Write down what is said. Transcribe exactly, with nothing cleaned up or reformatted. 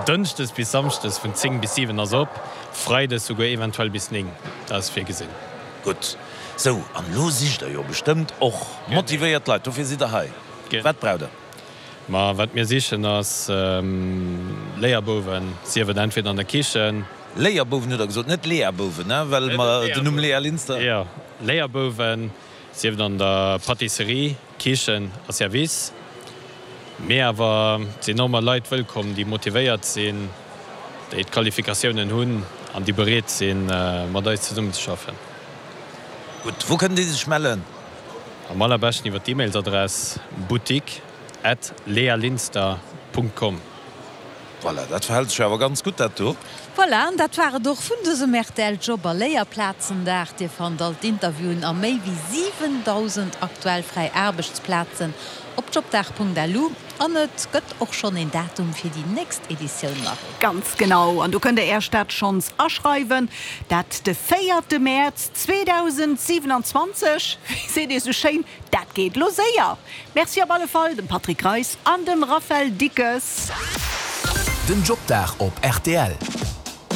Dënschdes bis Samschdes vun zéng bis siwen ass op, Freides souguer eventuell bis néng, dat ass virgesinn. Gutt, sou, an elo sicht der jo bestëmmt och motivéiert Leit, dofir sidd der hei. Wat braucht der? Ma wat mir sichen ass Léierbouwen, sief et entweder an der Kichen. Léierbouwen hutt der gesot, net Leabouwen, ne? Well mer den Numm Léa Linster. Jo, Léierbouwen, sief et an der Pâtisserie, Kichen a Service. Mee awer et sinn och mol Leit wëllkomm, déi motivéiert sinn, déi d'Qualifikatiounen hunn an déi bereet sinn, mat eis zesummenzeschaffen. Gutt, wou kënnen déi sech mellen? Am allerbeschten iwwer d'E-Mailsadress boutique at lealinster Punkt com. Voilà, dat verhält sech jo awer ganz gutt, dat do. Voilà, an dat war et och vun dësem rtl Job a Léierplazendag. Dir fannt all d'Interviewen a méi wéi siwendausend aktuell fräi Aarbechtsplazen op jobdag.lu. An et gëtt och schonn een Datum fir déi nächst Editioun, Marie. Ganz genau, an do kënnt der Äech dat schonns aschreiwen, dat de véierte Mäerz zweedausendsiwenanzwanzeg. Wéi seet ee sou schéin, dat geet lo séier. Merci op alle Fall dem Patrick Reis an dem Raphaël Dickes. Den Jobdag op rtl.